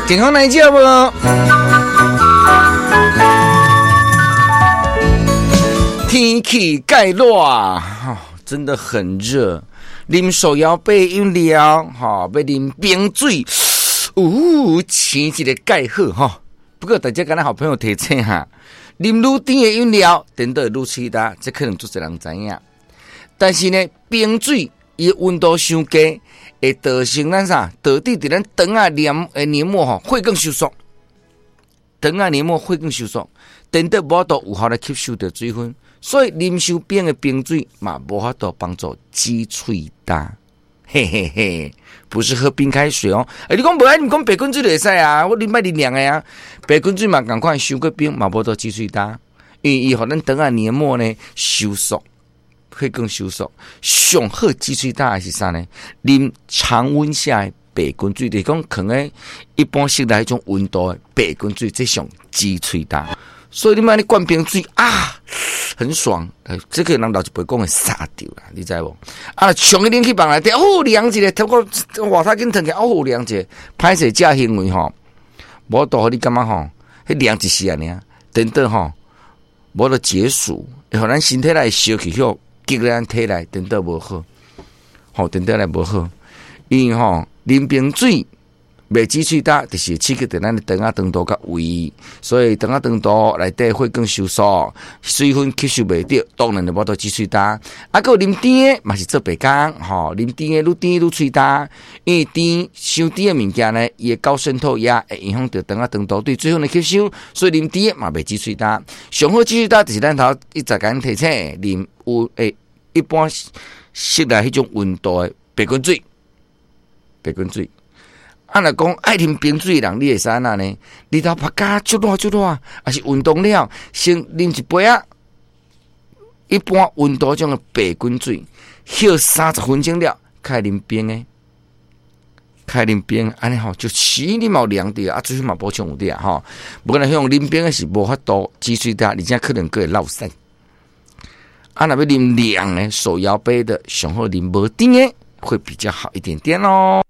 健康來食無？天氣蓋熱，真的很熱。啉手搖杯飲料，吼，欲啉冰水，嗚，生一个蓋好吼。不過大家敢若好朋友提醒哈，啉愈甜的飲料，等到愈喙焦，這可能足濟人知影。但是呢，冰水伊溫度傷低，會造成咱啥？導致佇咱腸仔黏的黏膜吼會更收縮，腸仔黏膜會更收縮，等到無法度有效來吸收著水分，所以啉傷冰的冰水嘛，無法度幫助止喙焦。嘿嘿嘿，不是喝冰開水哦。欸，你講無愛，你講白滾水就會使啊？我啉愛啉涼的啊。白滾水嘛仝款，傷過冰嘛無法度止喙焦，因為伊予咱腸仔黏膜呢收縮，會更收縮。上好止喙焦的是啥呢？啉常溫下的白滾水，就是講囥佇一般室內彼種溫度的白滾水，這上止喙焦。所以你莫按呢灌冰水啊，很爽。這個人老一輩講會捎著啦，你知無？啊，衝去冷氣房內底，哦，涼一下，透過外頭緊褪起，哦，涼一下。歹勢這行為吼，無法度予你感覺吼，彼涼一時爾，等等吼，無得解暑，會予咱身體內燒氣許激咱體內，等等無好，吼，等等來無好，因為吼，啉冰水袂止喙焦，就是刺激著咱的腸仔腸道佮胃，所以腸仔腸道內底會更收縮，水分吸收袂著，當然就無法度止喙焦。啊，閣有啉甜的嘛是做白工，吼，啉甜的愈甜愈喙焦，因為甜傷甜的物件呢，伊的高滲透壓會影響著腸仔腸道對水分的吸收，所以啉甜的嘛袂止喙焦。上好止喙焦就是咱頭一再共提醒，啉有誒一般室內彼種溫度的白滾水，白滾水。啊，若講愛啉冰水的人，你會使按怎呢？日頭曝甲足熱足熱，抑是運動了，先啉一杯仔，一般溫度種的白滾水，歇30分鐘了，開啉冰的，開啉冰，按呢吼，就死你嘛有涼著，啊，水分嘛補充有著吼。無可能用啉冰的是無法度止喙焦，而且可能閣會落屎。啊，若欲啉涼的手搖杯的，上好啉無甜的，會比較好一點點哦。